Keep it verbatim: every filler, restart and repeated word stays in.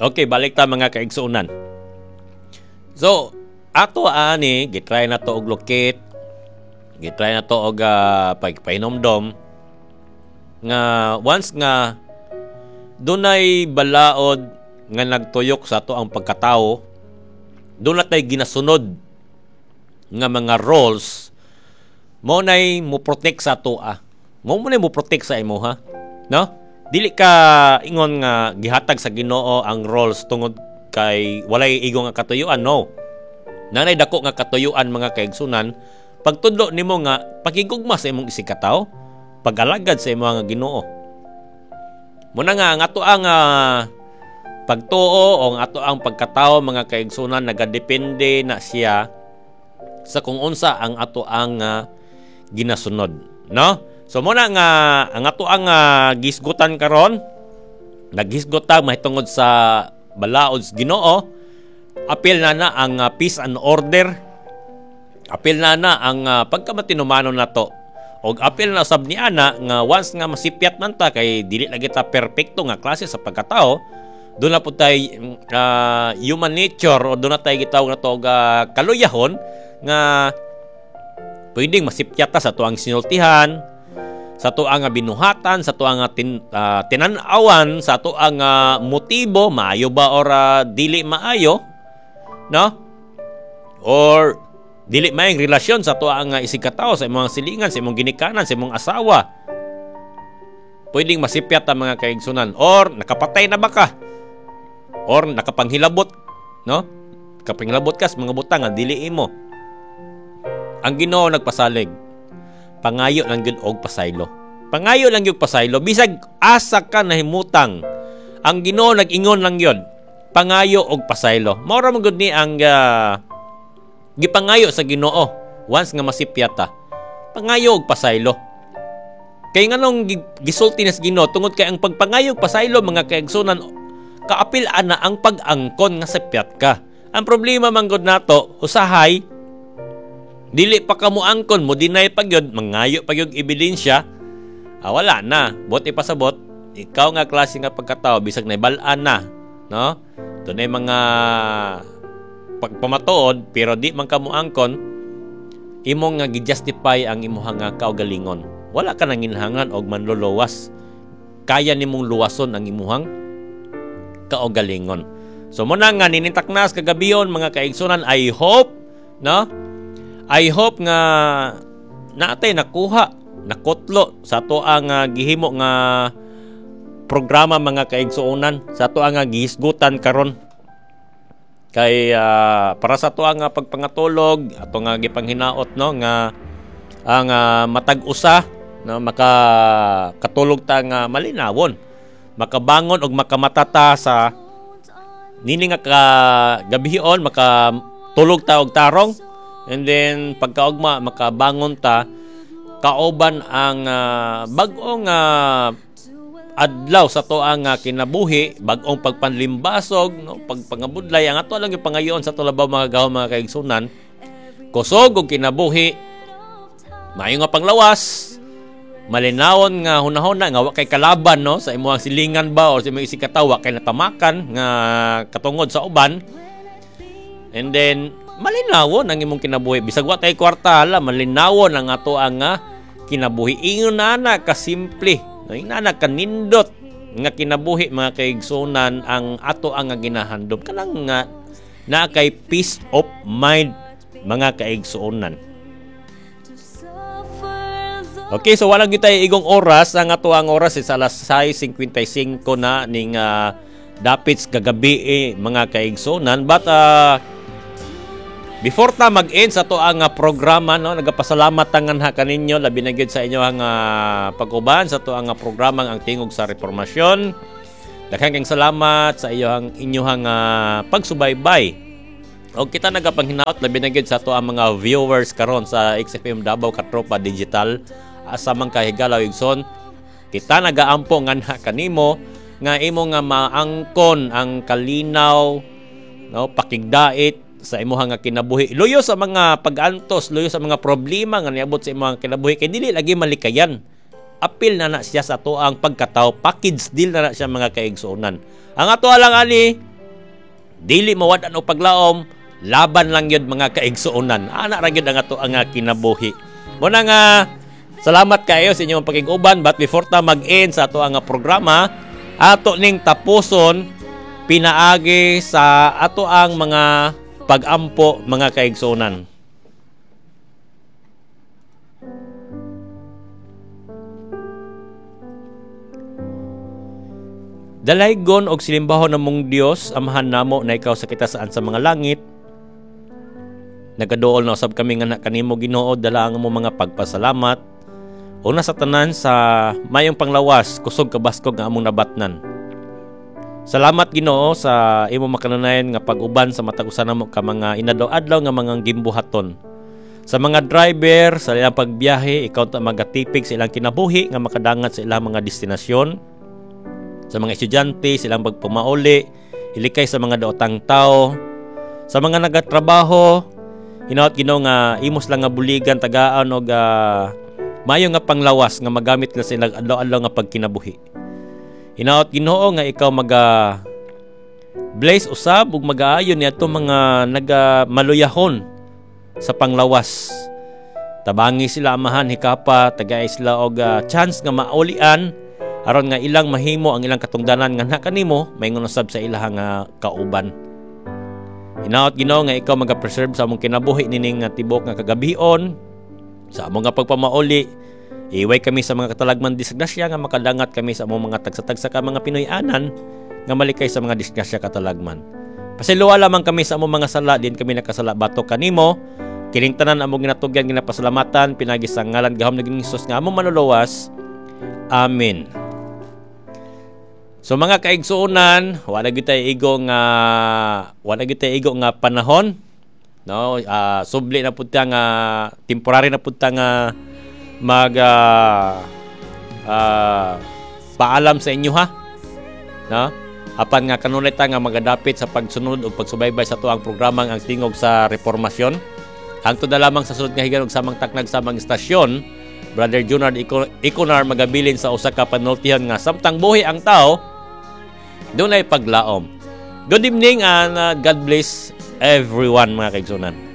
Okay, balik ta, mga kaigsuonan. So, ato ani gitry na to og locate, gitry na to og uh, pagpahinomdom nga once nga dunay balaod nga nagtuyok sa ato ang pagkatao, doon na tay ginasunod nga mga roles mo nay mo protect sa atoa. Mo mo nay mo protect sa imo ha. No? Dili ka ingon nga gihatag sa Ginoo ang roles tungod kay walay igo nga katuyuan, no. Nanay dako nga katuyuan, mga kaigsunan, pagtudlo nimo nga pakigugma sa imong isigkatawo, pag-alagad sa imong nga Ginoo. Muna nga ang ato ang uh, pagtuo o ang ato ang pagkatao, mga kaigsunan, nagadepende na siya sa kung unsa ang ato ang uh, ginasunod, no? So muna nga ang ato ang uh, gisgutan karon, naghisgot ta mahitungod sa balaod sa Ginoo. Apil na na ang uh, peace and order, apil na na ang uh, pagkamatinumanon nato, og apil na sab ni ana nga once nga masipyat man ta kay dili lagi ta perpekto nga klase sa pagkatao, doon na po tay uh, human nature o doon na tay gitawag na to og uh, kaluyahon nga pwedeng masipyat ta sa tuang sinultihan, sa tuang nga binuhatan, sa tuang nga tin, uh, tinan-awan, sa tuang uh, motibo, maayo ba or uh, dili maayo, no? Or dili maayong relasyon sa tuang nga isigkatao, sa imong silingan, sa imong ginikanan, sa imong asawa. Pwedeng masipyat ang mga kaigsunan or nakapatay na ba ka? Or nakapanghilabot, no? Kapanghilabot ka sa mga butang nga dili imo. Ang Ginoo nagpasalig. Pangayo lang gyud og pasaylo. Pangayo lang gyud pasaylo bisag asa ka nahimutang. Ang Ginoo nag-ingon lang gyud. Pangayo og pasaylo. Mao ra man gud ni ang uh, gipangayo sa Ginoo once nga masipyat ta. Pangayo og pasaylo. Kay nganong gisulti na sa Ginoo? Tungod kay ang pagpangayo og pasaylo, mga kaigsunan, kaapil ana ang pag-angkon nga sipyat ka. Ang problema man gud nato, usahay dili pa ka mo angkon, mo deny pa gyud, mangayo pa gyud ebidensya, ah, wala na. Bot ipasabot, ikaw nga klase nga pagkatao, bisag naibal-an na, no? Dunay mga pagpamatuod, pero di man ka mo angkon, imong nga gi-justify ang imuha nga kaugalingon. Wala ka nanginhangan og manluluwas. Kaya nimong luwason ang imuhang kaugalingon. So muna nga ninintaknas kagabion, mga kaigsunan, I hope, no? I hope nga naatay nakuha, nakutlo sa ato ang uh, gihimo nga programa, mga kaigsuonan, sa ato ang uh, gihisgutan karon. Kay uh, para sa ato ang uh, pagpangatulog, ato nga gipanghinaot, no, nga ang uh, matag usa, no, maka katulog ta nga malinawon, makabangon og makamata ta sa nini nga ka gabion, makatulog ta og tarong. And then pagkaugma makabangon ta kauban ang uh, bag-ong uh, adlaw sa to ang uh, kinabuhi, bag-ong pagpanlimbasog, no, pagpangabudlay. Ang ato lang yung pangayoon sa tulabaw, mga gaw, mga kaigsunan, kusog og kinabuhi, maayo nga panglawas, malinawon nga hunahuna nga wa kay kalaban, no, sa imong silingan ba o sa imong isigkatawo, kay natamakan nga katungod sa uban. And then malinawon ang imong kinabuhi bisag wa tay kwarta, hala, malinawon ang ato ang uh, kinabuhi. Ingon na kasimple, no, ingon na kanindot nga kinabuhi, mga kaigsunan, ang ato ang ginahandom, kanang nga na kay peace of mind, mga kaigsuonan. Okay, so walang kita igong oras. Ang ato ang oras is alas sais singkwenta y singko na ning uh, dapit kagabi eh, mga kaigsuonan. But uh, before ta mag-end sa ato ang uh, programa, no, nagapasalamat tangan ha kaninyo, labi na gyud sa inyo ang uh, pag-uban sa ato ang uh, programang Ang Tingog sa Reformasyon. Daghang kang salamat sa iyohang inyong uh, pagsubaybay. Og kita nagapanghinaot labi na gyud sa ato ang mga viewers karon sa X F M Davao Katropa Digital asa man kahigalaw, igsoon. Kita nagaampo nganha kanimo nga imo nga maangkon ang kalinaw, no, pakigdait sa imuha nga kinabuhi. Luyo sa mga pag-antos, luyo sa mga problema nga niabot sa imong kinabuhi kay dili lagi malikayan. Apil na na siya sa atoang pagkatao, package deal na na siya, mga kaigsuonan. Ang ato lang ani, dili mawad-an og paglaom, laban lang yun, mga kaigsuonan. Ana ra gyud ang ato ang kinabuhi. Muna nga salamat kayo sa inyong pakig-uban, but before ta mag-end sa ato ang programa, ato ning tapuson pinaagi sa ato ang mga pag-ampo, mga kaigsuonan. Dalaygon og silimbahon namong Dios, Amahan namo na ikaw sa kitasaan sa mga langit. Nagaduol na usab kami nga kanimo, Ginoo, dala ang among mga pagpasalamat. Una sa tanan sa mayong panglawas, kusog kabaskog nga among nabatnan. Salamat, Ginoo, sa imong makanunayan nga pag-uban sa matag usa namo ka mga inadlaw-adlaw nga mga gimbuhaton. Sa mga driver sa ilang pagbiyahe, ikaw ta magatipig sa ilang kinabuhi nga makadangat sa ilang mga destinasyon. Sa mga estudyante, silang pagpamauli, ilikay sa mga daotang tao. Sa mga nagatrabaho, hinaot, Ginoo, nga imos lang nga buligan, tagaan og uh, mayo nga panglawas nga magamit nila sa ilang adlaw-adlaw nga pagkinabuhi. Hinaot, Ginoo, nga ikaw maga bless usab ug magaayon niadto mga naga maluyahon sa panglawas. Tabangi sila, Amahan, hikapa, tagay sila og uh, chance nga maulian aron nga ilang mahimo ang ilang katungdanan nga nakanimo maingon usab sa ilahang uh, kauban. Hinaot, Ginoo, nga ikaw maga-preserve sa among kinabuhi nining uh, tibok nga kagabion sa among nga pagpamauli. Iway kami sa mga katalagman disgrasya nga makadangat kami sa among mga tagsa-tagsa ka mga Pinoy-anan nga malikay sa mga disgrasya katalagman. Pasayloa lamang kami sa among mga sala, din kami nakasala batok kanimo. Kining tanan among ginatugyan, ginapasalamatan pinagi sa ngalan gahom ni Hesus nga among manluluwas. Amen. So mga kaigsuonan, wala gyud tay igo nga wala gyud tay igo nga panahon, no? Uh, subli na pud ta nga temporary na pud ta nga mag uh, uh, paalam sa inyo ha, no? Apan nga kanunay ta nga magadapit sa pagsunod ug pagsubaybay sa tuang programang Ang Tingog sa Reformasyon. Hangtod na lamang sa sunod nga higayon ug samang taknag, samang istasyon, Brother Junard Iconar magabilin sa usa ka panultihan nga samtang buhi ang tao, dunay paglaom. Good evening and uh, God bless everyone, mga kaigsunan.